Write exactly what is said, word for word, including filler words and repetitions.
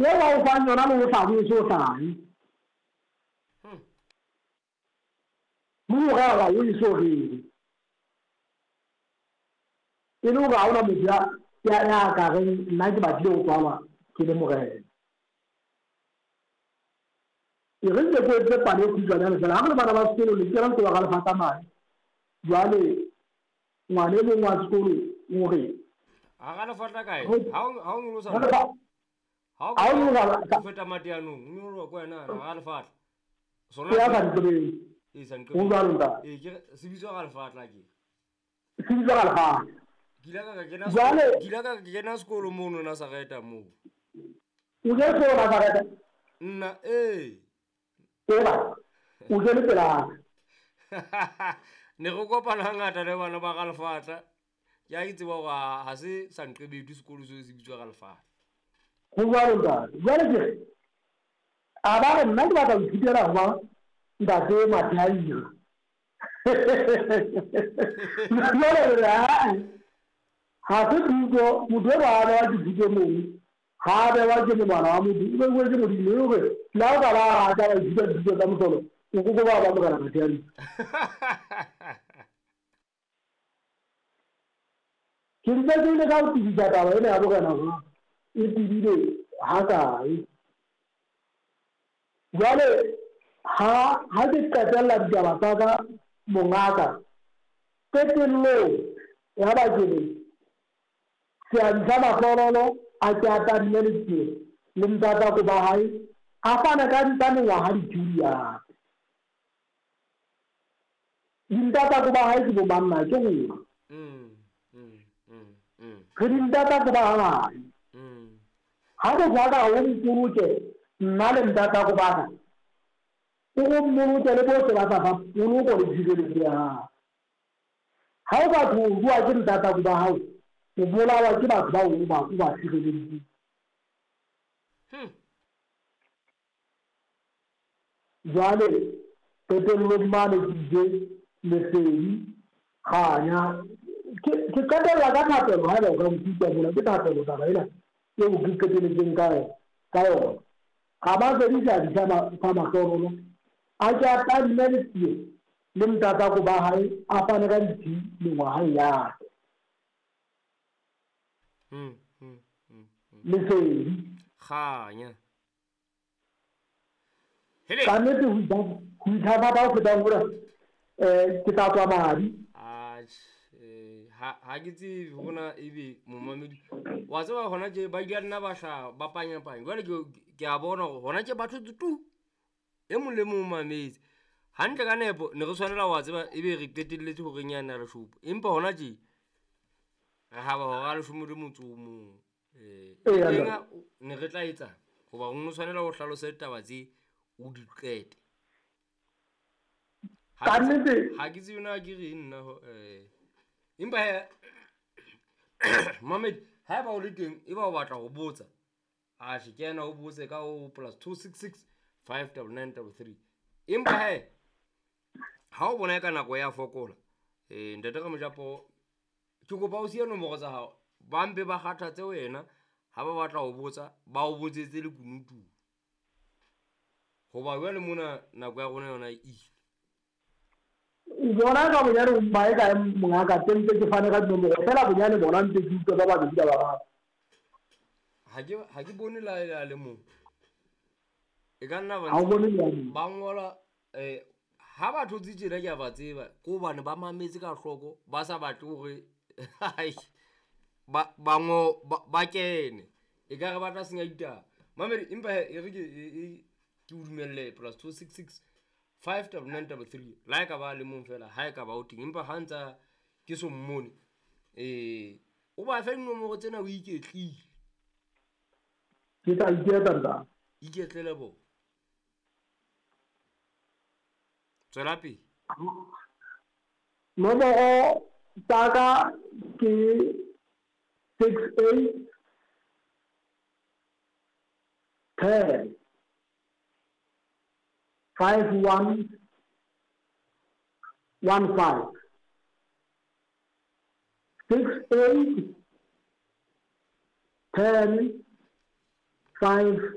Ye ba o fang yona le o hlabe o so hlahe. Le ho rera o e so rere. E le hore ha hona motho ya ya ya ka reng nna ke batlile ho tswalwa ke le morena. E re nke ke etse pale e kgutshwanyane fela. Ha re le bana ba sekolo le kena sekolo ga lefatla mane. Jwale ngwana e mong wa sekolo o re Ha ga lefatla kae? Ho- Ha o ha o nyolosa Ha lefa- ha o ha o nyolosa- o feta mateanong, o nyoloha ko wena ha lefatla. Sona ke ya sa ntsebeng. e sa Ho jwalo ntate. Eh ke se bitswa ga lefatla ke. Se bitswa ga lefatla. Ke ile ka ka kena Jwale- ke ile ka ka kena sekolo mono Nazareta moo. O ke sekolo Nazareta? Nna eh. Eba, o kene pela ka. Ne re kopana hangata le bana ba ga lefatla. Ke a itse tseba hore ha ha se Sanqebedu sekolo seo se bitswa ga lefatla. Ho jwalo ntate. Jwale ke re, a ba re nna ke batla ho ithutela ho ba ntate Mathaira. Jwale re re, ha-eh, ha se thuto, motho e ba a bewa ke thuto moo, ha a bewa ke monwana wa motho, o beuwe ke Modimo, e le hore le ha o ka ba rata wa ithuta dithuto tsa mohlolo, o koko ba ba morena Mathaira. Ke ntse ke ile ka ho tebisa taba ena ya borena hore e tebile ha kae. Jwale ha, ha ke qetella ditaba tsa ka mongaka, qetellong ya ba ke re seabi sa mahlololo a ke a tadime letsie le ntatako ba hae, a fane ka tsa mengwaha dithunya. Dintatako ba hae ke bo mang na? Ke rona. Mm, mm, mm, mm. Re dintatako ba hae. Mm. Ha re jwaka o mpoloke nna le ntatako ba ka, o go mmoloke le bohle ba tla fa poloko le tshireletso ya hao. Ha o ka tlo bua ke ntatako ba hao, o bolawa ke batho bao o ba, o ba sireleditseng. Hmm. Jwale qetellong mane ke itse lesedi kganya. Ke, ke qetella ka thapelo, haeba o ka nkutlwa mona, ke thapelo taba ena eo ke qeteletseng ka yona, ka yona. Ga ba fedisa di sa ma-, sa mahlonolo, a ke a tadime letsie le ntatako ba hae, a fane ka ditsi mengwaha ya ka. Hmm, hmm, hmm, hmm. Lesedi. Kganya. Hele. Ka nnete ho itha-, ho ithathatha ho fetang hore, eh, ke tla tswa madi. Atjhe, eh, ha, ha ke tsebe hona ebe momamedi. Wa tseba hona tje ba ile nna ba hla ba panyapanya. Jwale ke, ke a bona hore hona tje batho tu. E mong le mong o mametse. Hantle ka nepo ne re tshwanela wa tseba ebe re qetelletse hore nyana re shopo. Empa hona tje re haba hora leshome le motso o mong. Eh, Eya, teng ne re tla etsa hoba o no tshwanela ho hlalose ditaba tse o di qete. Ha Ka ke tse- nnete- ha ke tsebe na ke reng nna ho, eh, empa he, Mohammed, haeba o le teng, eba o batla ho botsa, atjhe, ke yena o botse ka ho plus two six six five double nine double three. Empa he, ha o bona ka nako ya fokola, eh, ntate Ramojapo, ke kopa o siye nomoro tsa hao, ba mpe ba kgathatse wena, ha ba batla ho botsa, ba o botsetse lekunutu. Hoba jwale mona nako ya rona yona e ile. O bona ka bonyane o mmae kae mongaka, tse ntse ke fane ka dinomoro, fela bonyane bona ntse ke utlwa ba babedi ba bararo. Ha ke, ha ke bone la e le mong. E ka nna ba Ha o bone le a mong. ba ngola, eh, ha ba thotse tjena ke a ba tseba, ke hobane ba mametse ka hloko, ba sa batle hore, ai, ba, ba ngo, ba, ba kene. E ka re ba tla senya ditaba. Mamedi, empa he, e re ke, e, e, ke o dumelle plus two six six five double nine double three. La e ka ba le mong fela, ha e ka ba o teng. Empa ha ntsa ke so mmone, eh, o ba fe dinomoro tsena o iketlile. Ke tla iketla ntate. Iketlele bo. Tswela pele. Nomoro tsa ka ke six eight ten five one one five. Six eight ten five